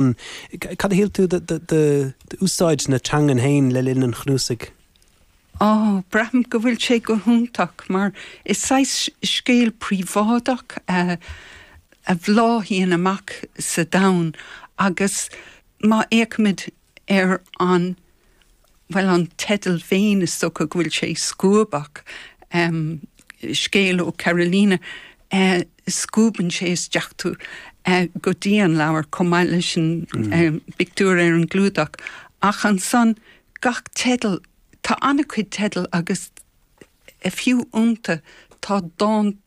Cad a shíl tú d'úsáid na teangan féin le linn an chnuasaigh? Ó, braithim go bhfuil sé go hiontach mar is saghas scéal príobháideach a bhláthaíonn amach sa domhan agus má fhéachaimid ar an, bhuel, an teideal féin, is dócha go bhfuil sé scuabach, Scéal ó Carolina, scuabann sé isteach tú go dtí an leabhar chomh maith leis an bpictiúr ar an gclúdach. Ach ansan, gach teideal, tá an-chuid teideal agus fiú iontu tá dán.